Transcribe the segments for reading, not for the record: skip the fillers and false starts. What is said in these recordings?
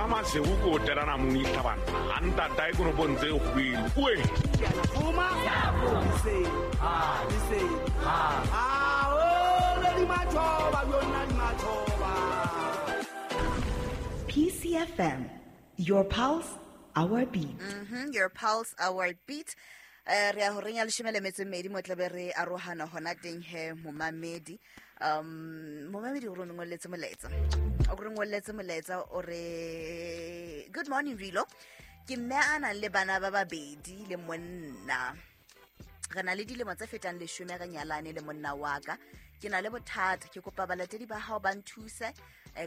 Yena Maseru ko telana monihla banna a ntatae konopong tse kgwele oe. PCFM, your pulse, our beat. Your pulse, our beat. Re ya horeng ya 12:30 mo tlabe re arohana hona teng he momamedi. Momamedi o re ngolletse molaetsa. O re ngolletse molaetsa o re good morning Rilo. Ke mme a nang le bana ba babedi le monna. Re na le dilemo tse fetang 10 re nyalane le monna wa ka. Ke na le bothata, ke kopa balatedi ba hao ba nthuse,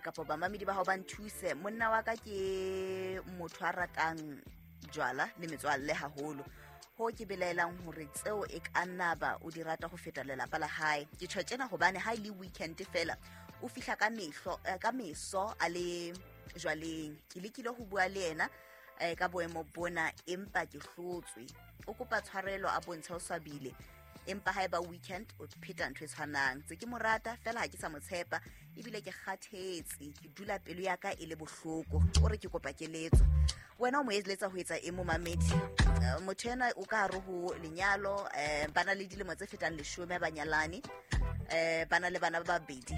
kapa bamamedi ba hao ba nthuse. Monna wa ka ke motho a ratang jwala le metswalle haholo. Ho ke belaelang hore tseo e ka nna ba o di rata ho feta lelapa la hae. Ke tjho tjena hobane ha e le weekend fela o fihla ka mehlo, ka meso a le jwaleng. Ke lekile ho bua le yena ka boemo bona empa ke hlotswe. O kopa tshwarelo a bontsha o swabile. Empa ha eba weekend o pheta ntho e tshwanang. Tse ke mo rata fela ha ke sa mo tshepa ebile ke kgathetse, ke dula pelo ya ka e le bohloko. O re ke kopa keletso. Wena o mo eletsa ho etsa eng momamedi? Motho ena o ka hare ho lenyalo, ba na le dilemo tse fetang 10 ba nyalane, ba na le bana ba babedi.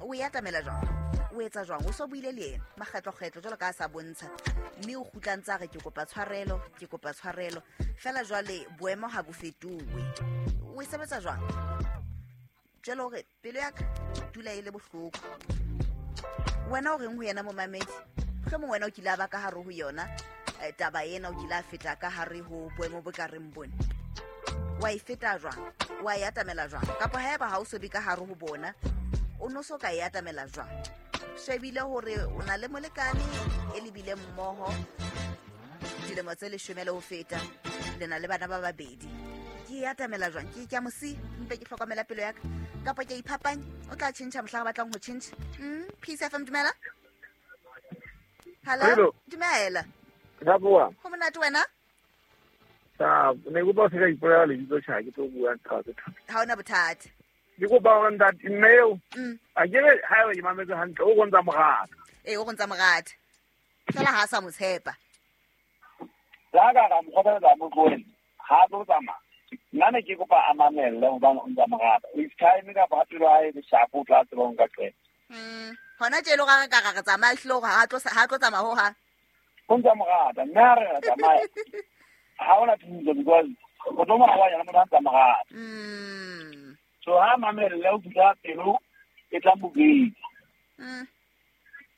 O e atamela jwang? O etsa jwang? O so buile le yena makgetlokgetlo jwalo ka a sa bontsha, mme o kgutla ntse a re ke kopa tshwarelo, ke kopa tshwarelo. Fela jwale boemo ha bo fetohe. O e sebetsa jwang? Jwale hore pelo ya ka dula e le bohloko. Wena o reng ho yena momamedi? Mohlomong wena o kile a ba ka hare ho yona taba ena, o kile a feta ka hare ho boemo bo ka reng bone. Wa e feta jwang? Wa e atamela jwang? Kapa haeba ha o so be ka hare ho bona, o no so ka e atamela jwang? Shebile hore o na le molekane e lebile mmoho dilemo tse 10 le ho feta, le na le bana ba babedi. Ke e atamela jwang? Ke a mo siya, mpe ke hlokomela pelo ya ka, kapa ke a iphapanya? O tla tjhentjha mohlang a batlang ho tjhentjha. Peace FM, dumela. Hello, dumela. Ra bua. Ho monate wena? Sa, ne kopa o se ka ipolela lebitso tjha, ke tlo bua ntho tse thata. Ha hona bothata. Ke kopa hore ntate mme eo, a ke re ha eba ke mametse hantle, o go ntsa morata. Ee, o go ntsa morata. Fela ha a sa mo tshepa. La ka ra mo kgothaletsa mo tlohele, ha a tlo tsamaya. Nna ne ke kopa a mamelle hobane o ntsa morata. With time kapa ha pelo ya hae e le sharp, o tla tseba ho nka qeto. Hona tje e le hore ha re ka ra re tsamaya, ehlile hore ha tlo tsamaya hohang. O ntsa morata, mme ha re ra tsamaya, ha hona thuso because o tlo mo arohanya le motho a ntsa morata. So ha mamelle o fihla pelo e tla mo betsa.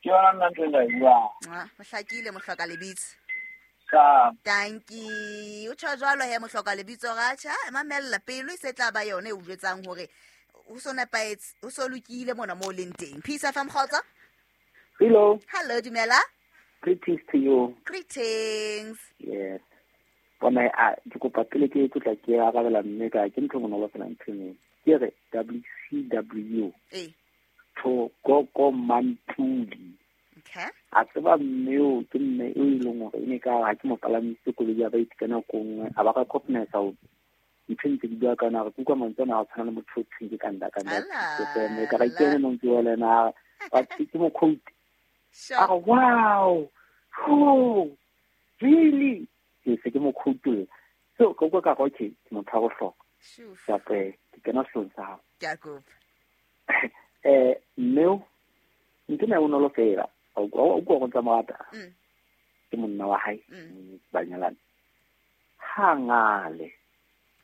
Ke yona nna ntho e nka e buang. Ah, o hlakile mohloka lebitso. Sa. Tanki. O tjho jwalo he mohloka lebitso ra tjha, mamella pelo e se tla ba yona e o jwetsang hore o so nepahetse, o so lokile mona mo o leng teng. Peace FM, kgotso. Hello. Hello, dumela. Greetings to you. Greetings. Yes. Bona a ke kopa pele ke tlotla ke arabela mme ka ke ntho bonolo fela ntho eno. Ke re WCW. Ee. Thokoko Mantuli. Okay. A tseba mme o ke mme o e leng hore e ne ka ha ke mo palamise koloi ya baeti ka nako nngwe, a ba ka confidence ho ntho ntse di bua ka yona, re kuka mantswe ana a tshwana le motho o thweng ke kanda kanda. Ala, Ke se mme ka ra ke ene montsi wa lena, wa ke mo quote. Sure. A re, wow, oh, really? Ke se ke mo quote. So ka utlwa ka re, okay, ke motho wa bohlokwa. Sure. Ka re, ke kena sehlong sa hao. Ke a kopa. Mme o, ntho ena e bonolo fela. O utlwa go ntsa morata. Ke monna wa hae, ba nyalane. Ha ngale,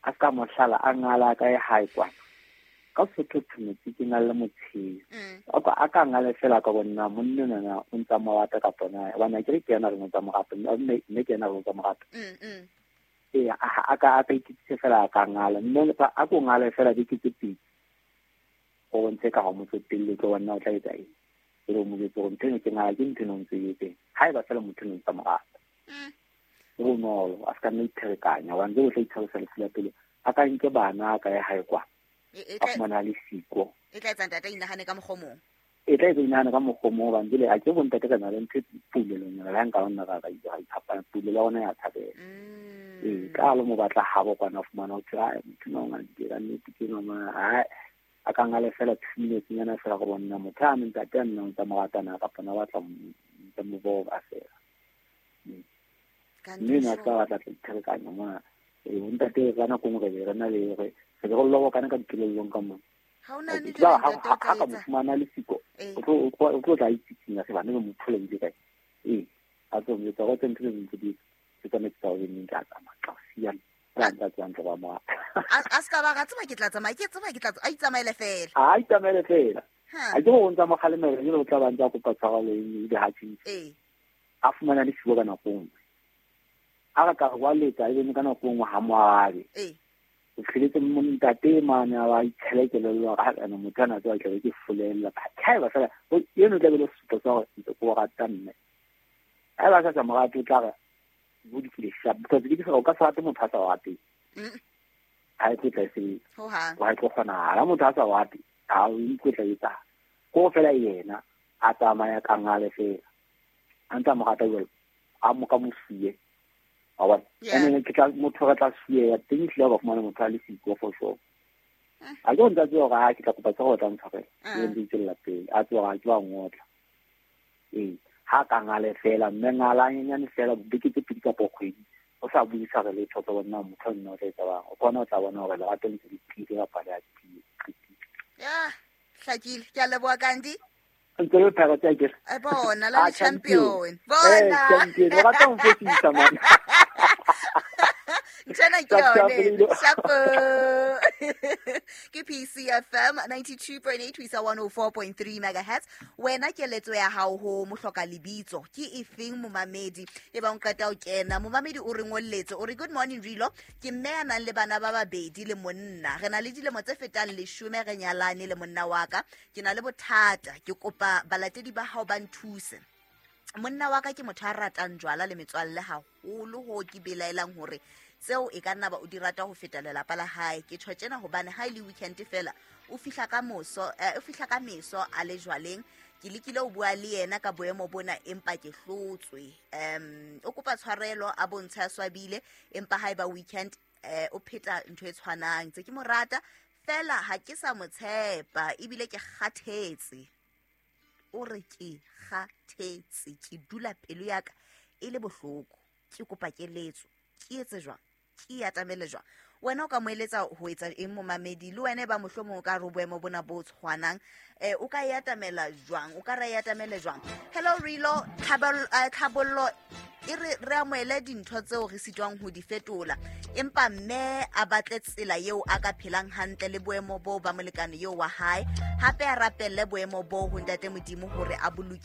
a ka mohlala, a ngala ka e hae kwana. Ka Sotho thometse ke na le motsheo. A ka ngale fela ka bonna monna nana o ntsa morata kapa na, hobane akere ke yena a reng o ntsa morata, mme ke yena a reng o ntsa morata. Ee, a ka iketsise fela a ka ngala. Mme a ko ngale fela beke tse pedi. O bontshe ka ha o mo tsotelle, tlo bona o tla etsa eng. E le o mo jwetse hore ntho eno ke ngala, ke ntho eno o ntse e etseng. Ha eba fela motho eno o ntsa morata. E bonolo, a se ka nna ipherekanya, hobane jwale o tla itshwarisa lefu la pelo. A ka nke bana, a ka ya hae kwana. E A fumana le siko. E tla etsa ntate a inahane ka mokgwa o mong. E tla etsa inahane ka mokgwa o mong, hobane jwale a ke bo ntate ka na le ntho e pulelong yona, le ha nka nna ra ra iphapanya, pulelo ya rona ya thabela. Ee, ka lo mo batla habo kwana, o fumana ho thwe, ai, motho enwa o ngandile ka nnete ke enwa ma, ai, A ka ngale fela 2 minutes nyana fela go bona motho a ntate a nna o ntse mo ratana kapa na batla ntse mo boba fela. Mme na ka batla tlerekanya mona ntate ka nako nngwe re na le re re go lobo kana ka dikelellong ka mona. Ha o nahane jwale ntate o tla Ha ka mo fumana le siko o tlo tla itsitsinya se bana ba mo phole ile kae. A tlo mo tsa go tsentse ntse di tse tsametse tsa o neng ka tsamaya ka siana. A ska ba ga tseba ke tla tsamaya ke tseba ke tla a itsamaele fela. A itsamaele fela. A ke go ntsa mo kgalemela le o tla ba ntsa kopa tshwarelo e le ha tshintse. A fumana le siko ka nako nngwe. A re ka go letsa e bene ka nako nngwe ha moabe. O tlheletse mo ntate mane a ba itshelekelelo ga ana motho ana tswa tla ke folella ba thaeba fela eno tla be le sesupo sa gore ntse ko rata mme. A ba sa tsamaya o tla re bo di file sharp because ke se o ka sa rate motho a sa rate. Ha e tla se wa tlo kgona ha motho a sa rate ha o ikotla etsa ko fela yena a tsamaya ka ngale fela a ntsa mo rata jalo a mo ka mosie a wa ene ke tla motho re tla sie teng tle ba fumana motho a le siko for sure. A ke ntse tseo ga ke tla kopa tsa go tla ntshwarela ke ntse tsela pele a tswa ga ke ba ngotla ha ka ngale fela mme ngalanyane fela beke tse pedi kapa kgwedi o sa buisa re letho tsa bona motho nna o tla etsa bang o kgona o tla bona hore lerato le ntse le tiile kapa le a tiile. Ya hlakile ke a leboha Kandi. Ntse le phara tsa ke. Bona la champion. Bona. Champion o rata ho fetisa mona. Nthena ke yone. Shapo. Ke PCFM 92.8 ho isa 104.3 megahertz. Wena keletso ya hao ho mohloka lebitso ke efeng momamedi e ba o qeta o kena momamedi o re ngolletse o re good morning Rilo ke mme a nang le bana ba babedi le monna re na le dilemo tse fetang 10 re nyalane le monna wa ka ke na le bothata ke kopa balatedi ba hao ba nthuse. Monna wa ka ke motho a ratang jwala le metswalle haholo ho ke belaelang hore tseo e ka nna ba o di rata ho feta lelapa la hae ke tjho tjena hobane ha ile weekend fela o fihla ka moso o fihla ka meso a le jwaleng ke lekile ho bua le yena ka boemo bona empa ke hlotswe o kopa tshwarelo a bontsha swabile empa ha eba weekend o pheta ntho e tshwanang tse ke mo rata fela ha ke sa mo tshepa ebile ke kgathetse o re ke kgathetse ke dula pelo ya ka e le bohloko ke kopa keletso ke etse jwang ke atamele jwang wena o ka mo eletsa ho etsa eng momamedi le wena ba mohlomong o ka re boemo bona bo tshwanang o ka e atamela jwang o ka ra e atamele jwang. Hello Rilo tlhabollo e re amohele dintho tseo re sitwang ho di fetola empa mme a batle tsela eo a ka phelang hantle le boemo bo ba molekane eo wa hae hape a rapelle boemo bo ho ntate Modimo hore a boloke